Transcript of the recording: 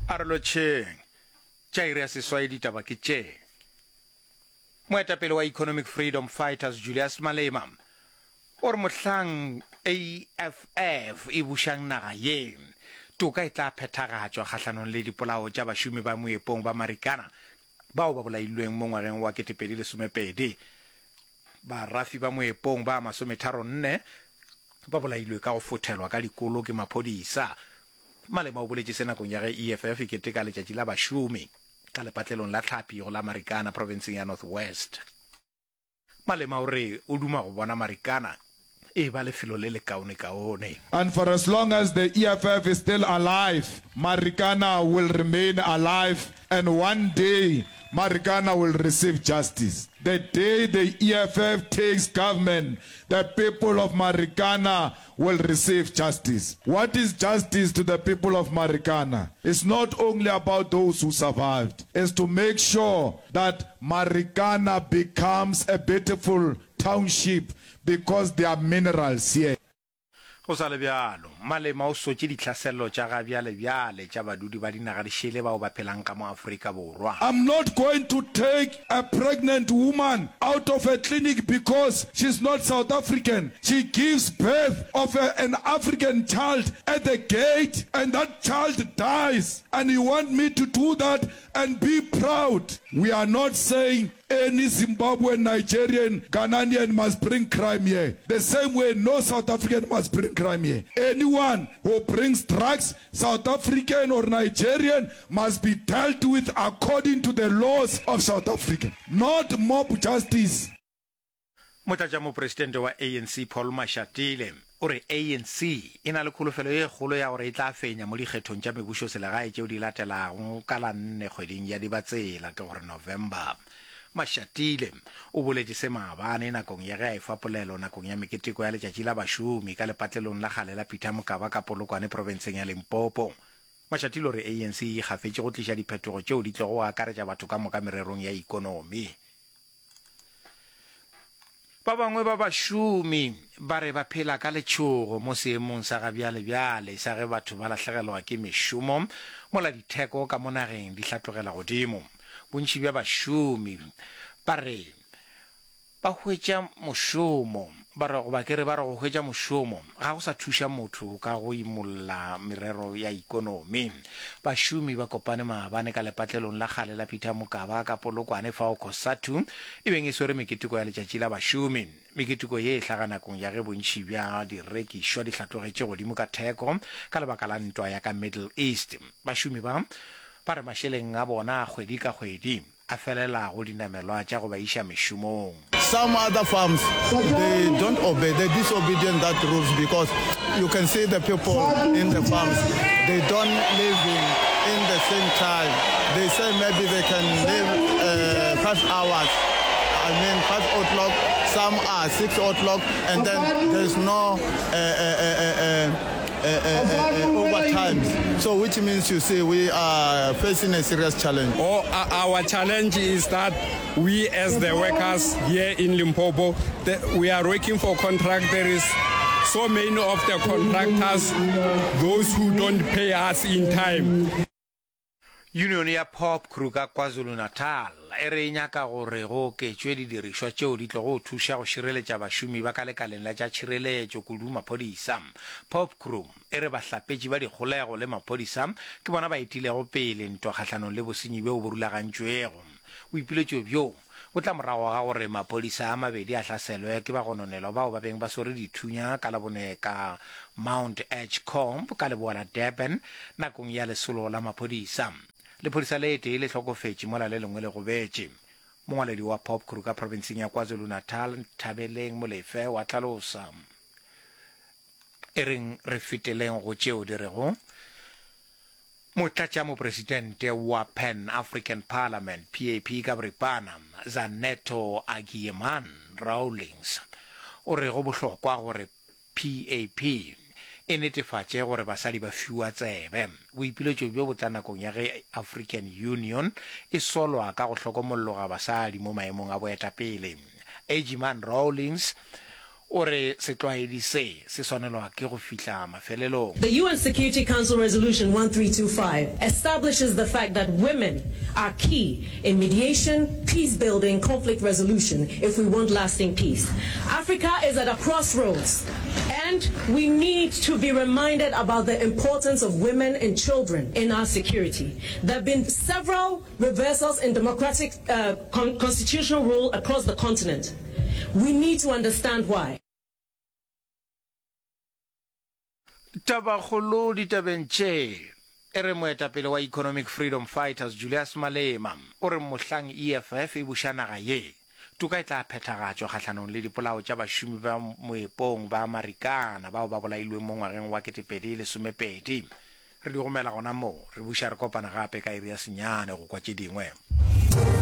A re lotšheng. Tša iri ya seswai ditaba ke tše. Moetapele wa Economic Freedom Fighters Julius Malema o re mohlang EFF e bušang naga ye, toka e tla phethagatšwa kgahlanong le dipolao tša bašomi ba moepong ba Marikana bao ba bolailweng mo ngwageng wa 2012. Barafi ba moepong ba masometharonne ba bolailwe ka go fothelwa ka dikolo ke maphodisa. Malema o boletše se nakong ya ge EFF e keteka letšatši la bašomi ka lepatlelong la tlhapi go la Marikana profenseng ya North West. Malema o re o duma go bona Marikana e eba lefelo le lekaonekaone. And for as long as the EFF is still alive, Marikana will remain alive and one day Marikana will receive justice. The day the EFF takes government, the people of Marikana will receive justice. What is justice to the people of Marikana? It's not only about those who survived. It's to make sure that Marikana becomes a beautiful township because there are minerals here. Go sa le bjalo, Malema o sotše ditlhaselo tša gabjalebjale tša badudi ba dinaga di šele bao ba phelang ka mo Afrika Borwa. I'm not going to take a pregnant woman out of a clinic because she's not South African. She gives birth of a, an African child at the gate and that child dies and you want me to do that and be proud? We are not saying Any Zimbabwean, Nigerian, Ghananian must bring crime here. The same way no South African must bring crime here. Anyone who brings drugs, South African or Nigerian, must be dealt with according to the laws of South Africa. Not mob justice. Motlatšamopresidente wa ANC Paul Mashatile o re ANC e na le kholofelo ye kgolo ya gore e tla fenya mo dikgethong tša mebušoselegae tšeo di latelago ka la nne kgweding ya Dibatsela, ke gore November. Mashatile o boletše se maabane nakong ya ge a efa polelo nakong ya meketeko ya Letšatši la Bašomi ka lepatlelong la kgale la Peter Mokaba ka Polokwane profenseng ya Limpopo. Mashatile o re ANC e ikgafetše go tliša diphetogo tšeo di tlogo akaretša batho ka moka mererong ya ikonomi. Ba bangwe ba bašomi ba re ba phela ka letšhogo mo seemong sa gabjalebjale sa ge batho ba lahlegelwa ke mešomo mola ditheko ka mo nageng di hlatlogela godimo. Bontši bja bašomi ba re ba hwetša mošomo ba re goba ke re ba re go hwetša mošomo ga go sa thuša motho ka go imolla merero ya ikonomi. Bašomi ba kopane maabane ka lepatlelong la kgale la Peter Mokaba ka Polokwane fao Cosatu e beng e swere meketeko ya letšatši la bašomi. Meketeko ye e hlaga nakong ya ge bontši bja direkišwa di hlatlogetše godimo ka theko ka lebaka la ntwa ya ka Middle East. Bašomi ba ba re mašeleng a bona a kgwedi ka kgwedi a felela go dinamelwa tša go ba iša mešomong. Some other farms they don't obey, they disobedient that rules because you can see the people in the farms they don't living in the same time. They say maybe they can live uh, five hours. I mean five o'clock, some are six o'clock, and then there's no uh, uh, uh, uh, overtime. So which means you see we are facing a serious challenge. Oh, our challenge is that we as the workers here in Limpopo, the, we are working for contract. There is so many of the contractors, those who don't pay us in time. Yunione ya Popcru ka KwaZulu-Natal e re e nyaka gore go oketšwe didirišwa tšeo di tlogo thuša go šireletša bašomi ba ka lekaleng la tša tšhireletšo, kudu maphodisa. Popcru e re bahlapetši ba dikgolego le maphodisa ke bona ba etilego pele ntwa kgahlanong le bosenyi bjo bo rulagantšwego. Boipiletšo bjo bo tla morago ga gore maphodisa a mabedi a hlaselwe ke bagononelwa bao ba beng ba swere dithunya ka Labone ka Mount Edgecombe ka leboa la Durban nakong ya lesolo la maphodisa. Lephodisa le tee le hlokofetše mola le lengwe le gobetše. Mongwaledi wa Popcru ka profenseng ya KwaZulu-Natal, Nthabeleng Molefe wa hlalosa. E reng re feteleng go tšeo di rego Motlatšamopresidente wa Pan African Parliament, PAP ka boripana, Zanetor Agyeman Rawlings, o re go bohlokwa gore PAP e netefatše gore basadi ba fiwa tsebe. Boipiletšo bjo bo tla nakong ya ge African Union e solwa ka go hlokomolloga basadi mo maemong a boetapele. Agyeman Rawlings. O re setlwaedi se se swanelwa ke go fihla mafelelong. The UN Security Council Resolution 1325 establishes the fact that women are key in mediation, peace building, conflict resolution if we want lasting peace. Africa is at a crossroads and we need to be reminded about the importance of women and children in our security. There have been several reversals in democratic uh, con constitutional rule across the continent. We need to understand why. Tabakgolo ditabeng tše e re moetapele wa Economic Freedom Fighters Julius Malema o re mohlang EFF e buša naga ye, toka e tla phethagatšwa kgahlanong le dipolao tša bašomi ba moepong ba Marikana bao ba bolailweng mo ngwageng wa 2012. Re di gomela gona moo, re buša re kopana gape ka iri ya senyane go kwa tše dingwe.